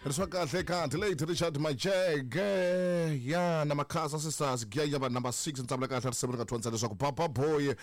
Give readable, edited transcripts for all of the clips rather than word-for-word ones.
Ri swa kahle ka the late Richard Majeke ya na Makhasa Sisters giya va number 6 ntsavula kahle risimu ri nga thonisa leswaku Papa Boy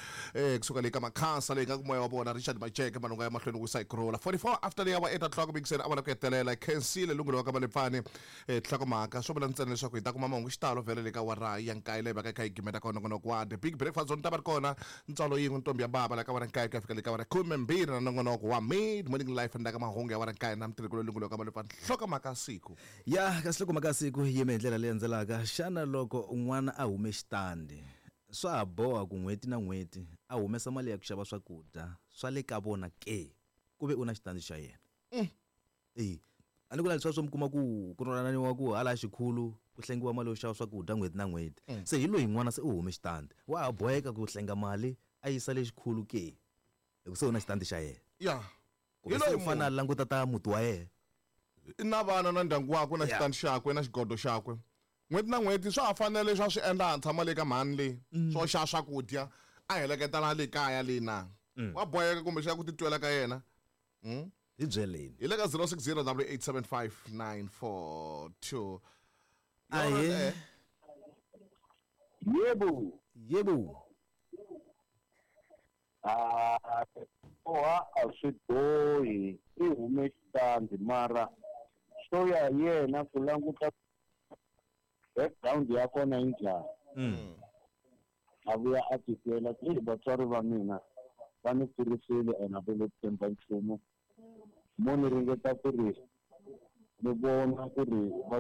kusuka le ka Makhasa leyi nga ku moya wa vona Richard Majeke malunga ya mahlweni wisa hi kurhula 44 after the hour 8 o'clock mikiseni a vona ku hetelela khensile lunghelo wa ka Malepfani nhlokomhaka swo vula ntsena leswaku hi ta kuma mahungu xitalo vhele le ka awara ya nkaye leyi vaka yi kha yi gimeta ka nongonoko wa The Big Breakfast Zone ta va ri kona ntswalo yin'we ntombi ya bava la ka awara nkaye ku ya fika le ka awara 12 na nongonoko wa Mid Morning Life endzhaku ka mahungu ya awara nkaye na mutirhikulu lunghelo ka Malepfani nhlokomhaka siku. Ya kasi nhlokomhaka ya siku yi yime hi ndlela leyi landzelaka, Xana loko n'wana a hume xitandi swa ha boha ku n'hweti na n'hweti a humesa mali ya ku xava swakudya swa le ka vona ke ku ve u na xitandi xa yena? E a ni ku na leswiya swo mi kuma ku ku twananiwa ku hala xikhulu ku hlengiwa mali yo xava swakudya n'hweti na n'hweti se hi loyi n'wana se u hume xitandi wa ha boheka ku hlenga mali a yisa le xikhulu ke hi ku se u na xitandi xa yena ya kumbe se u fanele a languta ta muti wa yena i na vana na ndyangu wakwe na xitandi xakwe na xigodo xakwe n'hweti na n'hweti swa ha fanele leswi a swi endla a tshama le ka mhani le swo xava swakudya a heleketa na le kaya le na wa boheka kumbe xa ku titwela ka yena. Hi byeleni. Hi le ka 060 875 Ahee. Yebo. Yebo. Ah, boha a swi bohi i hume xitandi mara swo ya hi yena ku languta background ya kona yi njhani. A vuya a titwela ku eyi vatswari va mina va ni kurisile and a va lo tshemba nchumu mo ni ringeta ku ri ni vona ku ri va.